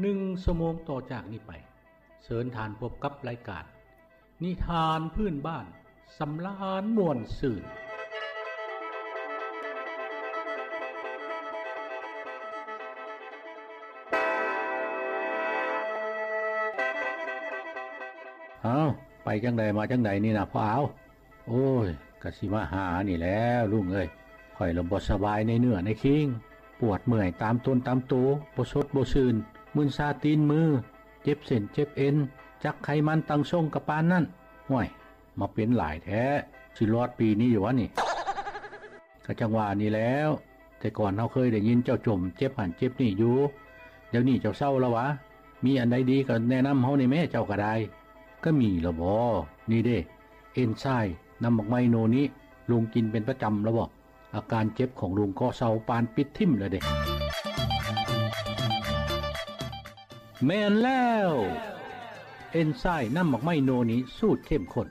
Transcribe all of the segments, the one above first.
ໜຶ່ງຊົ່ວໂມງຕໍ່ຈາກນີ້ໄປ, ເຊີນທ່ານພົບກັບລາຍການ ນິທານພື້ນບ້ານ ສຳລານມ່ວນຊື່ນ. ອ້າວ ໄປຈັ່ງໃດມາຈັ່ງໃດນີ້ນະພໍ່ອາວ? ໂອ້ຍ ກະຊິມາຫານີ້ແຫຼະລຸງເອີຍ. ຂ້ອຍລະບໍ່ສະບາຍໃນເນື້ອໃນຄີງ, ປວດເມື່ອຍຕາມຕົນຕາມໂຕ, ບໍ່ສົດບໍ່ຊື່ນ, ມຶນຊາຕີນມື, ເຈັບເສັ້ນເຈັບເອັນ, ຈັກໄຂມັນຕັ້ງຊົງກະປານນັ້ນ. ຫ້ວຍ ມາເປັນຫຼາຍແທ້, ຊິລອດປີນີ້ຢູ່ຫວານີ້? ກະຈັ່ງວ່ານີ້ແຫຼ້ວ, ແຕ່ກ່ອນເຮົາເຄີຍໄດ້ຍິນເຈົ້າຈົ່ມເຈັບຫັ້ນເຈັບນີ້ຢູ່, ດຽວນີ້ເຈົ້າເຊົາລະຫວາ? ມີອັນໃດດີກະແນະນຳເຮົາແດ່ແມ້, ເຈົ້າກະໄດ້. ກະມີລະບໍ? ນີ້ເດ້ ເອັນໄຊ ນ້ຳໝາກໄມ້ໂນນິ, ລຸງກິນເປັນປະຈຳລະບໍ? ອາການເຈັບຂອງລຸງກໍເຊົາປານປິດຖິ້ມລະເດ້. ແມ່ນແລ້ວ! ເອັນໄຊນ້ຳໝາກໄມ້ໂນນິສູດເຂັ້ມຂຸ້ນ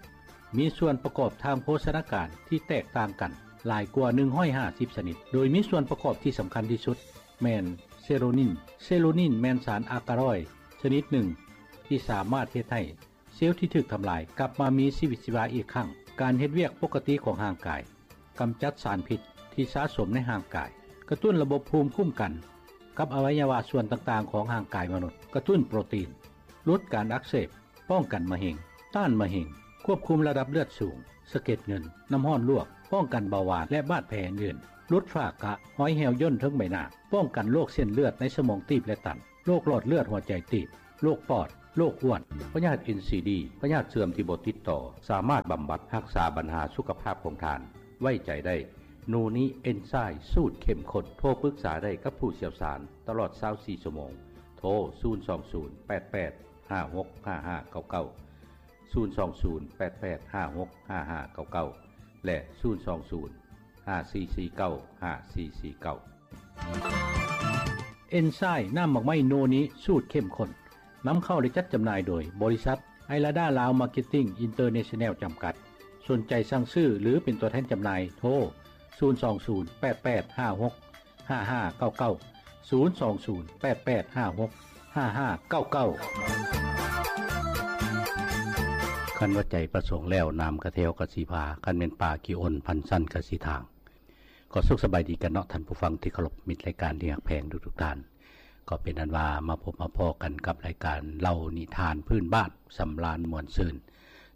ມີສ່ວນປະກອບທາງໂພຊະນາການທີ່ແຕກຕ່າງກັນຫຼາຍກວ່າໜຶ່ງຮ້ອຍຫ້າສິບຊະນິດ, ໂດຍມີສ່ວນປະກອບທີ່ສຳຄັນທີ່ສຸດແມ່ນເຊໂຣນິນ. ເຊໂຣນິນແມ່ນສານອາກາຣອຍຊະນິດໜຶ່ງທີ່ສາມາດເຮັດໃຫ້ ເຊວທີ່ຖືກທຳລາຍກັບມາມີຊີວິດຊີວາອີກຄັ້ງ, ການເຮັດວຽກປົກກະຕິຂອງຮ່າງກາຍ, ກຳຈັດສານພິດທີ່ສະສົມໃນຮ່າງກາຍ, ກະຕຸ້ນລະບົບພູມຄຸ້ມກັນກັບອະໄວຍະວະສ່ວນຕ່າງໆຂອງຮ່າງກາຍມະນຸດ, ກະຕຸ້ນໂປຣຕີນ, ຫຼຸດການອັກເສບ, ປ້ອງກັນມະເຮັງ, ຕ້ານມະເຮັງ, ຄວບຄຸມລະດັບເລືອດສູງ, ສະເກັດເງິນ, ນ້ຳຮ້ອນລວກ, ປ້ອງກັນເບົາຫວານ ແລະ ບາດແຜອື່ນໆ, ຫຼຸດຝ້າກະ, ຮອຍແຫ້ວຍ່ນເທິງໃບໜ້າ, ປ້ອງກັນໂລກເສັ້ນເລືອດໃນສະໝອງຕີບ ແລະ ຕັນ. ໂລກຫຼອດເລືອດຫົວໃຈຕີບ, ໂລກປອດ, ໂລກອ້ວນ, ພະຍາດເອັນຊີດີ, ພະຍາດເສື່ອມທີ່ບໍ່ຕິດຕໍ່, ສາມາດບຳບັດຮັກສາບັນຫາສຸຂະພາບຂອງທ່ານ. ໄວ້ໃຈໄດ້ ໂນນິເອັນໄຊສູດເຂັ້ມຂຸ້ນ. ໂທປຶກສາໄດ້ກັບຜູ້ຊ່ຽວຊານຕະຫຼອດຊາວສີ່ຊົ່ວໂມງ. ໂທ ສູນສອງສູນ ແປດແປດ ຫ້າຫົກ ຫ້າຫ້າເກົ້າເກົ້າ, ສູນສອງສູນ ແປດແປດ ຫ້າຫົກ ຫ້າຫ້າເກົ້າເກົ້າ ແລະ ສູນສອງສູນ ຫ້າສີ່ສີ່ເກົ້າ ຫ້າສີ່ສີ່ເກົ້າ. ເອັນໄຊນ້ຳໝາກໄມ້ໂນນິສູດເຂັ້ມຂຸ້ນ ນຳເຂົ້າ ແລະ ຈັດຈຳໜ່າຍໂດຍບໍລິສັດໄອລາດາລາວມາເກັດຕິ້ງອິນເຕີເນຊັນແນວຈຳກັດ. ສົນໃຈສັ່ງຊື້ ຫຼື ເປັນຕົວແທນຈຳໜ່າຍ ໂທ ສູນສອງສູນ ແປດແປດ ຫ້າຫົກ ຫ້າຫ້າເກົ້າເກົ້າ, ສູນສອງສູນ ແປດແປດ ຫ້າຫົກ ຫ້າຫ້າເກົ້າເກົ້າ. ຄັນວ່າໃຈປະສົງແລ້ວ ນ້ຳກະແຖວກະຊິພາ, ຄັນແມ່ນປ່າຂີ້ອົນ ພັນຊັ້ນກະຊິທາງ. ກໍສຸກສະບາຍດີກັນເນາະ ທ່ານຜູ້ຟັງທີ່ເຄົາລົບ, ມິດລາຍການທີ່ຮັກແພງທຸກໆທ່ານ. ກໍເປັນອັນວ່າມາພົບມາພໍ້ກັນກັບລາຍການເລົ່ານິທານພື້ນບ້ານ ສຳລານມ່ວນຊື່ນ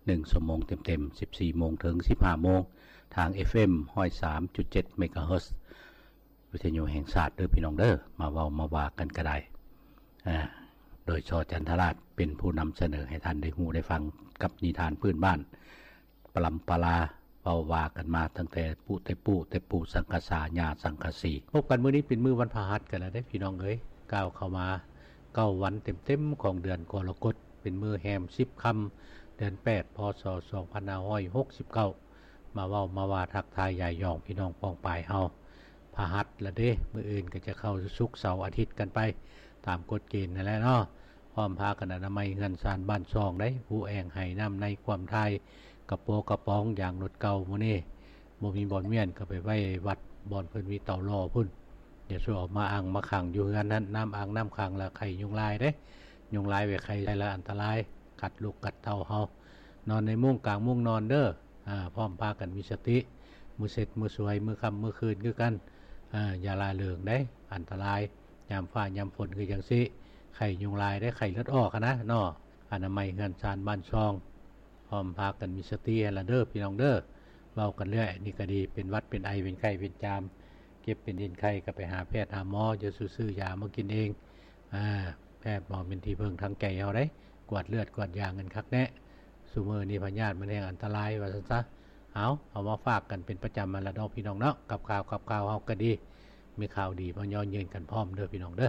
ໜຶ່ງຊົ່ວໂມງເຕັມໆ ສິບສີ່ໂມງເຖິງສິບຫ້າໂມງ ທາງ ເອັຟເອັມ ຮ້ອຍສາມຈຸດເຈັດ ເມກາເຮີດ ວິທະຍຸແຫ່ງຊາດເດີພີ່ນ້ອງເດີ. ມາເວົ້າມາວ່າກັນກະໄດ້ ອາ ໂດຍ ຊ ຈັນທະລາດ ເປັນຜູ້ນຳສະເໜີໃຫ້ທ່ານໄດ້ຮູ້ໄດ້ຟັງກັບນິທານພື້ນບ້ານ ປະລຳປະລາ ເວົ້າວ່າກັນມາຕັ້ງແຕ່ປູ່ແຕ່ປູ່ ແຕ່ປູ່ສັງກະສາ ຍ່າສັງກະສີ. ພົບກັນມື້ນີ້ເປັນມື້ວັນພະຫັດກັນແລ້ວເດ້ພີ່ນ້ອງເອີຍ, ກ້າວເຂົ້າມາເກົ້າວັນເຕັມໆຂອງເດືອນກໍລະກົດ, ເປັນມື້ແຮມສິບຄ່ຳ ເດືອນແປດ ພ.ສ. ສອງພັນຫ້າຮ້ອຍຫົກສິບເກົ້າ. ມາເວົ້າມາວ່າທັກທາຍຢາຍຢອງພີ່ນ້ອງປ້ອງປາຍເຮົາ. ພະຫັດລະເດ້, ມື້ອື່ນກໍຈະເຂົ້າສຸກເສົາອາທິດກັນໄປ ຕາມກົດເກນນັ້ນແຫຼະເນາະ. ພ້ອມພາກັນອະນາໄມເຮືອນຊານບ້ານຊ່ອງໄດ໋, ຜູ້ແອງໄຫນ້ຳໃນຄວາມຖ່າຍ ກະໂປກະປອງ ຢາງລົດເກົ່າມື້ນີ້ ບໍ່ມີບ່ອນມ້ຽນກໍໄປໄວ້ວັດບ່ອນເພິ່ນມີເຕົາຫຼໍ່ພຸ້ນ. ຢ່າສູ່ເອົາມາອັ່ງມາຂັງຢູ່ເຮືອນຫັ້ນ, ນ້ຳອັ່ງນ້ຳຂັງລະໄຂ້ຍຸງລາຍເດ້. ຍຸງລາຍໄປໄຂ້ໃສ່ລະອັນຕະລາຍ, ກັດລູກກັດເຕົ້າເຮົາ. ນອນໃນມຸ້ງກາງມຸ້ງນອນເດີ. ອາ ພ້ອມພາກັນມີສະຕິ, ມື້ເສັດມື້ສວຍ ມື້ຄ່ຳມື້ຄືນຄືກັນ. ອາ ຢ່າລະເລີງເດ້, ອັນຕະລາຍຍາມຟ້າຍາມຝົນຄືຈັ່ງຊີ້, ໄຂ້ຍຸງລາຍເດ້, ໄຂ້ເລືອດອອກຫັ້ນນະເນາະ. ອະນາໄມເຮືອນຊານບ້ານຊ່ອງ ພ້ອມພາກັນມີສະຕິຫັ້ນລະເດີພີ່ນ້ອງເດີ. ເວົ້າກັນເລື້ອຍນີ້ກະດີ, ເປັນຫວັດເປັນໄອເປັນໄຂ້ເປັນຈາມ ເຈັບເປັນເອັນໄຂ້ກໍໄປຫາແພດຫາໝໍ, ຢ່າສູ່ຊື້ຢາມາກິນເອງ. ອາ ແພດໝໍເປັນທີ່ເພິ່ງທາງໃຈເຮົາໄດ໋, ກວດເລືອດກວດຢາກັນຄັກແນ່. ຊຸມື້ນີ້ພະຍາດມັນແຮ່ງອັນຕະລາຍວ່າຊັ້ນຊະ. ເອົາ ເອົາມາຝາກກັນເປັນປະຈຳຫັ້ນລະເນາະພີ່ນ້ອງເນາະ, ກັບຂ່າວກັບຂ່າວເຮົາກະດີ, ມີຂ່າວດີມາຍໍຍືນກັນພ້ອມເດີພີ່ນ້ອງເດີ.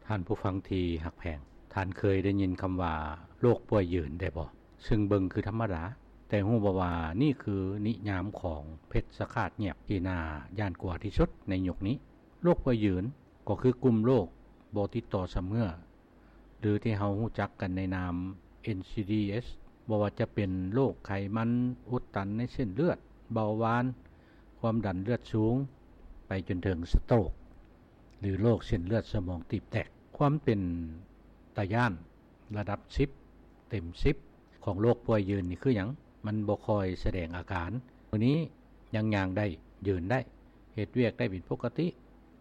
ທ່ານຜູ້ຟັງທີ່ຮັກແພງ, ທ່ານເຄີຍໄດ້ຍິນຄຳວ່າໂລກປ່ວຍຍືນແດ່ບໍ່? ຊຶ່ງເບິ່ງຄືທຳມະດາ, ແຕ່ຮູ້ບໍ່ວ່ານີ້ຄືນິຍາມຂອງເພັດສະຂາດງຽບທີ່ໜ້າຢ້ານກົວທີ່ສຸດໃນຍຸກນີ້? ໂລກປ່ວຍຍືນກໍຄືກຸ່ມໂລກບໍ່ຕິດຕໍ່ຊຳເຮື້ອ ຫຼື ທີ່ເຮົາຮູ້ຈັກກັນໃນນາມ ເອັນຊີດີເອັສ, ບໍ່ວ່າຈະເປັນໂລກໄຂມັນອຸດຕັນໃນເສັ້ນເລືອດ, ເບົາຫວານ, ຄວາມດັນເລືອດສູງ, ໄປຈົນເຖິງສະໂຕກ ຫຼື ໂລກເສັ້ນເລືອດສະໝອງຕີບແຕກ. ຄ ຄວາມເປັນຕາຢ້ານລະດັບສິບເຕັມສິບຂອງໂລກປ່ວຍຢືນນີ້ຄືຫຍັງ? ມັນບໍ່ຄ່ອຍສະແດງອາການ. ມື້ນີ້ຍັງຍ່າງໄດ້, ຢືນໄດ້, ເຮັດວຽກໄດ້ເປັນປົກກະຕິ,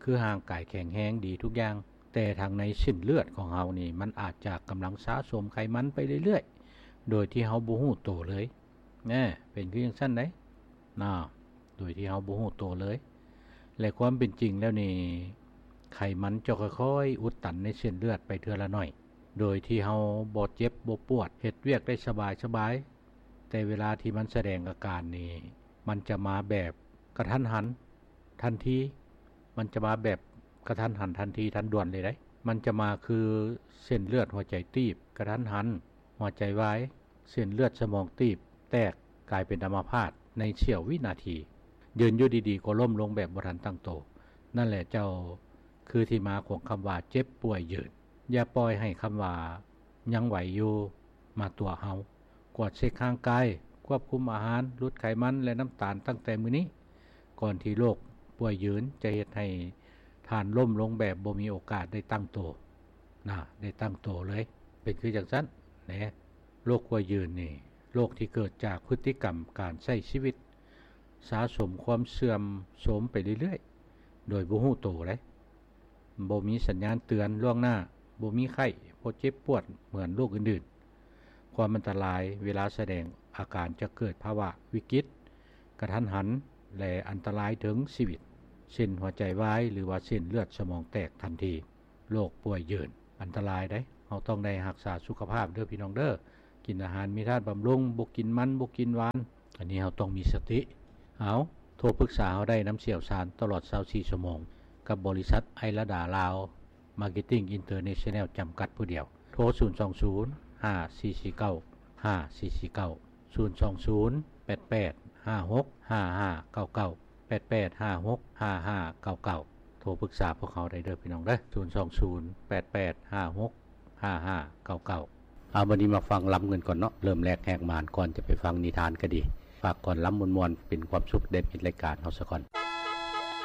ຄືຮ່າງກາຍແຂງແຮງດີທຸກຢ່າງ, ແຕ່ທາງໃນເສັ້ນເລືອດຂອງເຮົານີ້ ມັນອາດຈະກຳລັງສະສົມໄຂມັນໄປເລື້ອຍໆ ໂດຍທີ່ເຮົາບໍ່ຮູ້ໂຕເລີຍ. ແນ່, ເປັນຄືຈັ່ງຊັ້ນໃດ໋ ນະ, ໂດຍທີ່ເຮົາບໍ່ຮູ້ໂຕເລີຍ. ແລະ ຄວາມເປັນຈິງແລ້ວນີ້ ໄຂມັນຈະຄ່ອຍໆອຸດຕັນໃນເສັ້ນເລືອດໄປເທື່ອລະໜ້ອຍ ໂດຍທີ່ເຮົາບໍ່ເຈັບບໍ່ປວດ, ເຮັດວຽກໄດ້ສະບາຍໆ. ແຕ່ເວລາທີ່ມັນສະແດງອາການນີ້ ມັນຈະມາແບບກະທັນຫັນທັນທີ, ມັນຈະມາແບບກະທັນຫັນທັນທີທັນດ່ວນເລີຍໃດ໋. ມັນຈະມາຄືເສັ້ນເລືອດຫົວໃຈຕີບກະທັນຫັນ, ຫົວໃຈວາຍ, ເສັ້ນເລືອດສະໝອງຕີບແຕກກາຍເປັນອຳມະພາດໃນສ່ຽວວິນາທີ, ຢືນຢູ່ດີໆກໍລົ້ມລົງແບບບໍ່ທັນຕັ້ງໂຕ. ນັ້ນແຫຼະເຈົ້າ ຄືທີ່ມາຂອງຄຳວ່າເຈັບປ່ວຍຢືນ. ຢ່າປ່ອຍໃຫ້ຄຳວ່າຍັງໄຫວຢູ່ມາຕົວະເຮົາ. ກວດເຊັກຮ່າງກາຍ, ຄວບຄຸມອາຫານ, ຫຼຸດໄຂມັນ ແລະ ນ້ຳຕານຕັ້ງແຕ່ມື້ນີ້, ກ່ອນທີ່ໂລກປ່ວຍຢືນຈະເຮັດໃຫ້ທ່ານລົ້ມລົງແບບບໍ່ມີໂອກາດໄດ້ຕັ້ງໂຕນະ, ໄດ້ຕັ້ງໂຕເລີຍ. ເປັນຄືຈັ່ງຊັ້ນແນ. ໂລກປ່ວຍຢືນນີ້ ໂລກທີ່ເກີດຈາກພຶດຕິກຳການໃຊ້ຊີວິດ ສະສົມຄວາມເສື່ອມໂຊມໄປເລື້ອຍໆ ໂດຍບໍ່ຮູ້ໂຕເດ້. ບໍ່ມີສັນຍານເຕືອນລ່ວງໜ້າ, ບໍ່ມີໄຂ້, ບໍ່ເຈັບປວດເໝືອນໂລກອື່ນໆ. ຄວາມອັນຕະລາຍເວລາສະແດງອາການຈະເກີດພາວະວິກິດ, ກະທັນຫັນ ແລະ ອັນຕະລາຍເຖິງຊີວິດ, ເຊັ່ນ ຫົວໃຈວາຍ ຫຼືວ່າເສັ້ນເລືອດສະໝອງແຕກທັນທີ. ໂລກປ່ວຍຢືນ ອັນຕະລາຍເດ້. ເຮົາຕ້ອງໄດ້ຮັກສາສຸຂະພາບເດີພີ່ນ້ອງເດີ. ກິນອາຫານມີທາດບຳລຸງ, ບໍ່ກິນມັນ, ບໍ່ກິນຫວານ. ອັນນີ້ເຮົາຕ້ອງມີສະຕິ. ເອົາ, ໂທປຶກສາເຮົາໄດ້ນຳຊ່ຽວຊານຕະຫຼອດຊາວສີ່ຊົ່ວໂມງ ກັບບໍລິສັດໄອລະດາລາວ ມາເກັດຕິ້ງອິນເຕີເນຊັນແນວ ຈຳກັດຜູ້ດຽວ. ໂທ ສູນສອງສູນ ຫ້າສີ່ສີ່ເກົ້າ ຫ້າສີ່ສີ່ເກົ້າ, ສູນສອງສູນ ແປດແປດຫ້າຫົກ ຫ້າຫ້າເກົ້າເກົ້າ, ແປດແປດຫ້າຫົກ ຫ້າຫ້າເກົ້າເກົ້າ. ໂທປຶກສາພວກເຮົາໄດ້ເດີພີ່ນ້ອງເດີ, ສູນສອງສູນ ແປດແປດຫ້າຫົກ ຫ້າຫ້າເກົ້າເກົ້າ. ເອົາ, ບັດນີ້ມາຟັງລຳກັນກ່ອນເນາະ. ເລີ່ມແລກແຫກມ່ານ ກ່ອນຈະໄປຟັງນິທານກໍດີ, ຝາກກ່ອນລຳມ່ວນໆ ເປັນຄວາມສຸກແດ່ມິດລາຍການເຮົາສາກ່ອນ.